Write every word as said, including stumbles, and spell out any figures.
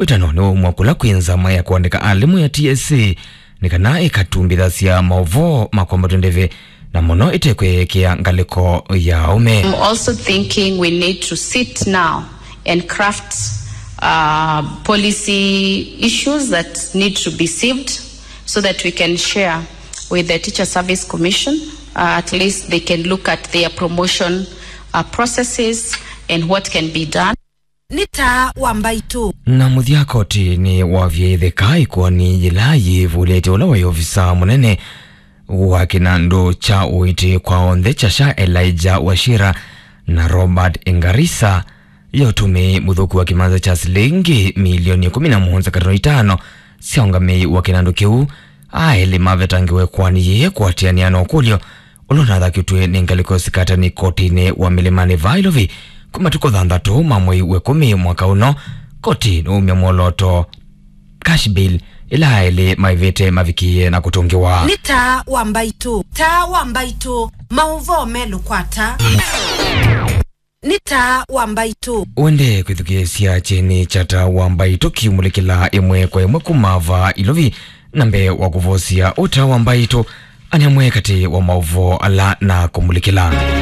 Wĩtano nĩwaumwa kũla kwĩ nzama ya kũandĩka alimũ ya T S C nĩ kana ĩkatumbĩthasya maũvoo ma kwambatw'a ndeve, na mũno ĩtekwĩekea ngalĩko ya aũme. I'm also thinking we need to sit now and craft uh, policy issues that need to be sieved so that we can share with the Teacher Service Commission. Uh, at least they can look at their promotion uh, processes and what can be done. Nĩ taa wa mbaitũ. Na mũthya koti nĩ wavie ĩtheka ĩkoani yĩla yĩvũlĩte ũla waĩ ovisa mũnene wa kĩnandũ kya ũiiti kwa onthe kya sha Elijah Wachira na Robert Engarisa ya ũtũmĩi mũthũku wa kĩmanza kya silingi milioni ĩkũmi na mũonza katono itano sya ũngamĩi wa kĩnandũ kĩu. Aelĩ mavetangiwe ĩkoani yĩĩ kũatĩanĩa na ũkũlyo ũla ũnathakĩtw'e nĩ ngalĩko sikatani kotinĩ wa Mĩlĩmanĩ vaa Ĩlovi kuma matukũ thanthatũ ma mwei wa ĩkũmi mwaka ũno. Koti nĩwaumya mwolooto cash bail ĩla aelĩ maĩvĩte mavikĩie na kũtũngĩwa. Nĩ taa wa mbaitũ, taa wa mbaitũ, maũvoo melũ kwata. Nĩ taa wa mbaitũ. Wende kwĩthukĩĩsya kyeni kya taa wa mbaitũ kiumũlĩkĩla ĩmwe kwa ĩmwe kuma vaa Ĩlovi, na mbee wa kũvosya ũtaa wa mbaitũ, ane amwe katĩ wa maũvoo ala na kũmũlĩkĩla.